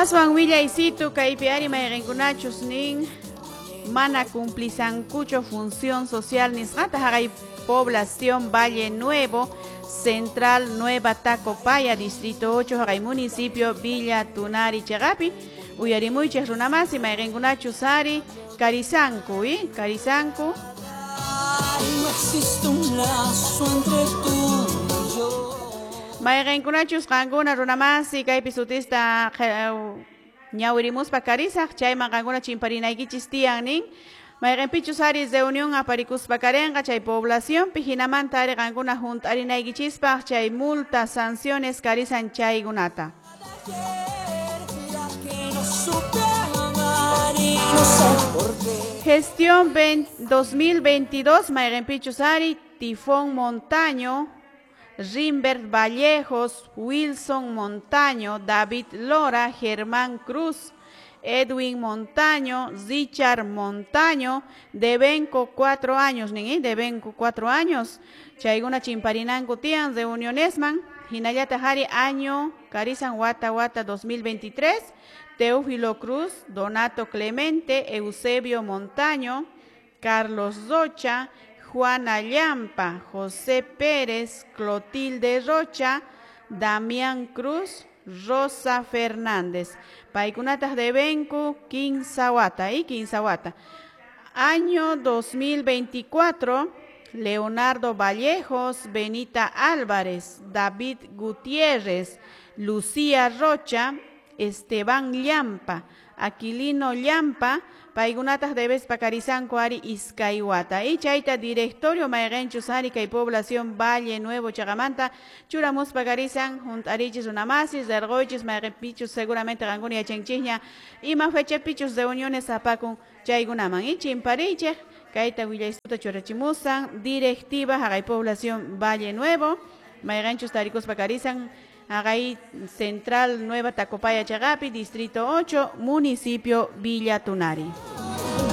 Aswan willaysitu kaypi ari mayqinkunachus nin mana cumplisankuchu función social nisqata haqay población Valle Nuevo, Central Nueva Tacopaya, Distrito 8, haqay municipio Villa Tunari chaqapi. Uyarimuychik runamasi mayqinkunachus ari karisanku, karisanku. No existe un lazo entre tú y yo. Mayqinkunachus qankuna runamasi kaypi sutista ñawirimuspa karisaq chayman qankuna chimparinaykichis tiyan nin. Mayqinpichus ari reunión aparikuspa karinqa chay poblacionpi hinamanta ari qankuna hunt'arinaykichispaq chay multas, sanciones karisan chaykunata. La que no supe amar y no sé por qué. Gestión 2022, mayqinpichus ari, Tifón Montaño, Rimbert Vallejos, Wilson Montaño, David Lora, Germán Cruz, Edwin Montaño, Richard Montaño, debenko 4 años, nin, debenko 4 años, chaykuna chimparinanku tiyan reunionesman, hinallata hari año, karisan wata wata 2023, Teófilo Cruz, Donato Clemente, Eusebio Montaño, Carlos Rocha, Juana Llampa, José Pérez, Clotilde Rocha, Damián Cruz, Rosa Fernández. Paykunatas debenku kinsa wata, kinsa wata. Año 2024, Leonardo Vallejos, Benita Álvarez, David Gutiérrez, Lucía Rocha, Esteban Llampa, Aquilino Llampa, paykunatas debes pakarisanku ari iskay wata. Y chayta directorio mayqinchus ari kay población Valle Nuevo chaqamanta churamuspa karisan hunt'arichis runamasi, rirquychis mayqinpichus seguramente qankuna yachanchikña ima fechapichus reuniones apakun chaykunaman. Y chimparichik kayta willaysuta churachimusan directiva haqay población Valle Nuevo mayqinchus tarikuspa karisan haqay Central Nueva Tacopaya chaqapi, Distrito 8, Municipio Villa Tunari.